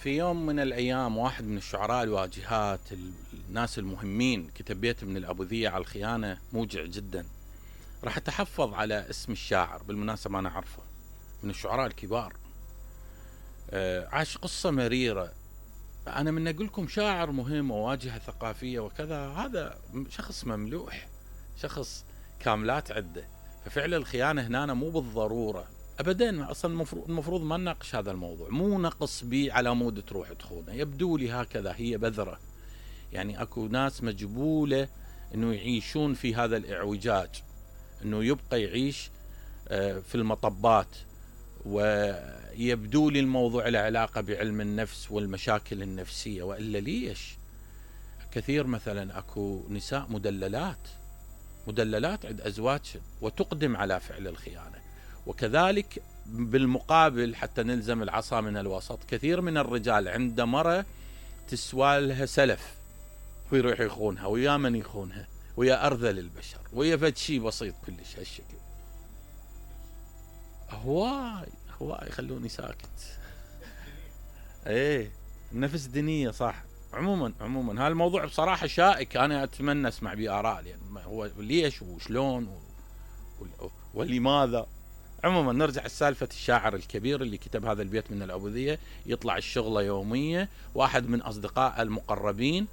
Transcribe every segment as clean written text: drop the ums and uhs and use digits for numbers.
في يوم من الأيام واحد من الشعراء الواجهات الناس المهمين كتب بيت من الأبوذية على الخيانة موجع جدا. راح أتحفظ على اسم الشاعر، بالمناسبة أنا أعرفه من الشعراء الكبار. عاش قصة مريرة. أنا من أقول لكم شاعر مهم وواجهة ثقافية وكذا، هذا شخص مملوح، شخص كاملات عدة. ففعل الخيانة هنا مو بالضرورة أبدا، أصلا المفروض ما نناقش هذا الموضوع، مو نقص بي على مود تروح تخونه. يبدو لي هكذا، هي بذرة، يعني أكو ناس مجبولة أنه يعيشون في هذا الإعوجاج، أنه يبقى يعيش في المطبات. ويبدو لي الموضوع له علاقة بعلم النفس والمشاكل النفسية، وإلا ليش كثير مثلا أكو نساء مدللات عند أزواج وتقدم على فعل الخيانة. وكذلك بالمقابل حتى نلزم العصا من الوسط، كثير من الرجال عند مرة تسوى لها سلف ويروح يخونها، ويا من يخونها؟ ويا أرذل البشر، ويا فد شي بسيط كلش هالشكل. هواي خلوني ساكت. ايه النفس دينية صح. عموما هالموضوع بصراحة شائك، أنا أتمنى أسمع بآراء، يعني هو ليش وشلون ولماذا. عموما نرجع لسالفة الشاعر الكبير اللي كتب هذا البيت من الأبوذية. يطلع الشغلة يومية، واحد من أصدقاء المقربين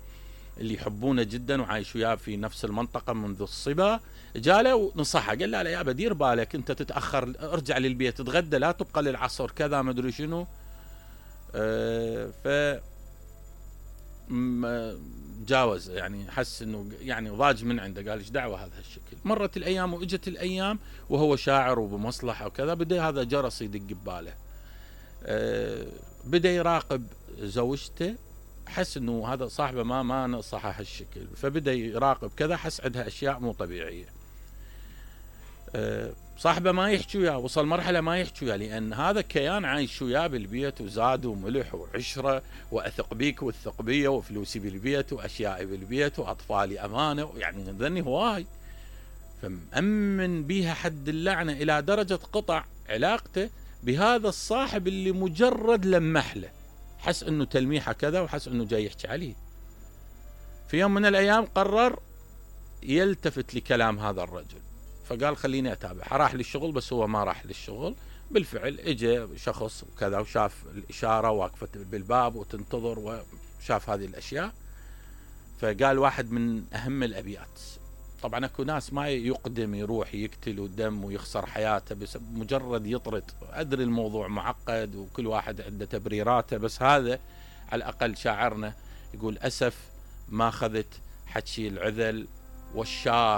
اللي يحبونه جدا وعايش وياه في نفس المنطقة منذ الصبا جاله ونصحه، قال له يا بدير بالك انت تتأخر، ارجع للبيت تتغدى، لا تبقى للعصر كذا ما ادري شنو. ف جاوز، يعني حس انه يعني ضاج من عنده، قال ايش دعوه هذا الشكل. مرت الايام واجت الايام وهو شاعر وبمصلحه وكذا، بدا هذا جرس يدق بباله. بدا يراقب زوجته، حس انه هذا صاحبه ما نصحه هالشكل، فبدا يراقب كذا، حس عندها اشياء مو طبيعيه. صاحبه ما يحكي وياه، وصل مرحله ما يحكي وياه، لان هذا كيان عايش وياه بالبيت، وزاد وملح وعشره، واثق بيك والثق بيه، وفلوسي بالبيت واشيائي بالبيت واطفالي امانه، يعني ذني هواي. فمأمن بيها حد اللعنه، الى درجه قطع علاقته بهذا الصاحب اللي مجرد لمح له، حس انه تلميحه كذا، وحس انه جاي يحكي عليه. في يوم من الايام قرر يلتفت لكلام هذا الرجل، فقال خليني اتابع. راح للشغل، بس هو ما راح للشغل بالفعل. اجى شخص وكذا وشاف الاشاره واقفه بالباب وتنتظر، وشاف هذه الاشياء. فقال واحد من اهم الابيات. طبعا اكو ناس ما يقدم يروح يقتل ودم ويخسر حياته بس مجرد يطرد. ادري الموضوع معقد وكل واحد عنده تبريراته، بس هذا على الاقل شاعرنا يقول اسف ما اخذت حكي العذل والشار